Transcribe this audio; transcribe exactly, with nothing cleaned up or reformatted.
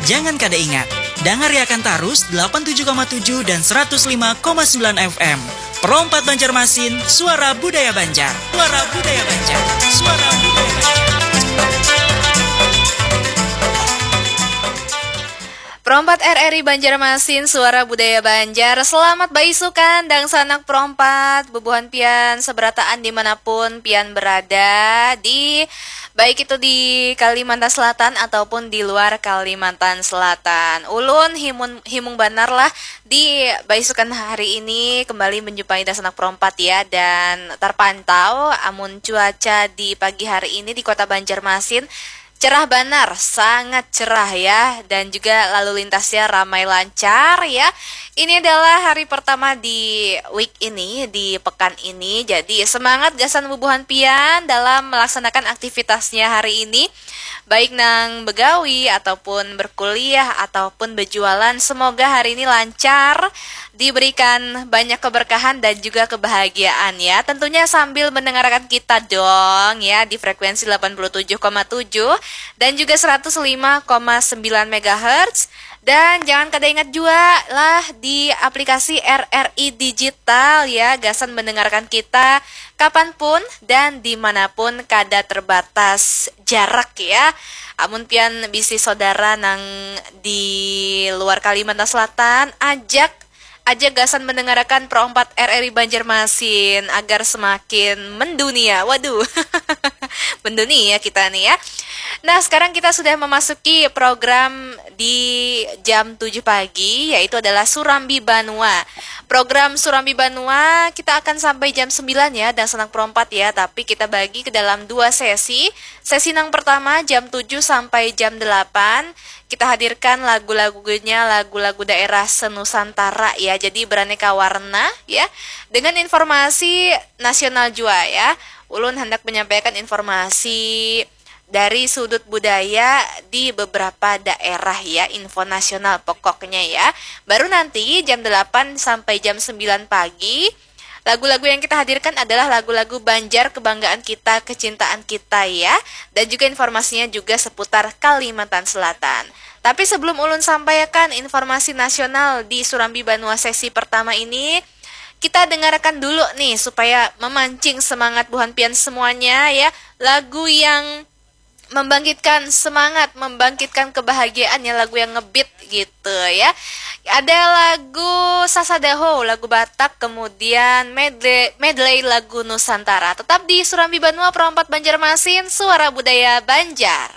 Jangan kada ingat, dangariakan tarus delapan tujuh koma tujuh dan seratus lima koma sembilan F M. Pro empat Banjarmasin, suara budaya Banjar. Suara budaya Banjar. Suara budaya Banjar. Pro empat R R I Banjarmasin, suara budaya Banjar. Selamat baisukan, dangsanak Pro empat, bubuhan pian seberataan dimanapun pian berada, di baik itu di Kalimantan Selatan ataupun di luar Kalimantan Selatan. Ulun himun, himung banar lah di baisukan hari ini kembali menjumpai dangsanak Pro empat ya, dan terpantau amun cuaca di pagi hari ini di Kota Banjarmasin cerah banar, sangat cerah ya, dan juga lalu lintasnya ramai lancar ya. Ini adalah hari pertama di week ini, di pekan ini. Jadi semangat gasan bubuhan pian dalam melaksanakan aktivitasnya hari ini, baik nang begawi ataupun berkuliah ataupun berjualan. Semoga hari ini lancar, diberikan banyak keberkahan dan juga kebahagiaan ya. Tentunya sambil mendengarkan kita dong ya di frekuensi delapan puluh tujuh koma tujuh dan juga seratus lima koma sembilan megahertz. Dan jangan kada ingat juga lah di aplikasi R R I Digital ya, gasan mendengarkan kita kapanpun dan dimanapun, kada terbatas jarak ya. Amun pian bisi saudara nang di luar Kalimantan Selatan, ajak aja gasan mendengarkan Pro empat R R I Banjarmasin agar semakin mendunia. Waduh, mendunia kita nih ya. Nah, sekarang kita sudah memasuki program di jam tujuh pagi, yaitu adalah Surambi Banua. Program Surambi Banua kita akan sampai jam sembilan ya, dangsanak Pro empat ya, tapi kita bagi ke dalam dua sesi. Sesi yang pertama jam tujuh sampai jam delapan, kita hadirkan lagu-lagunya, lagu-lagu daerah senusantara ya. Jadi beraneka warna ya, dengan informasi nasional jua ya. Ulun hendak menyampaikan informasi dari sudut budaya di beberapa daerah ya, info nasional pokoknya ya. Baru nanti jam delapan sampai jam sembilan pagi, lagu-lagu yang kita hadirkan adalah lagu-lagu Banjar kebanggaan kita, kecintaan kita ya. Dan juga informasinya juga seputar Kalimantan Selatan. Tapi sebelum ulun sampaikan informasi nasional di Surambi Banua sesi pertama ini, kita dengarkan dulu nih supaya memancing semangat buhan pian semuanya ya. Lagu yang membangkitkan semangat, membangkitkan kebahagiaan ya, lagu yang ngebeat gitu ya. Ada lagu Sasadaho, lagu Batak, kemudian medley, medley lagu Nusantara. Tetap di Surambi Banua Pro empat Banjarmasin, suara budaya Banjar.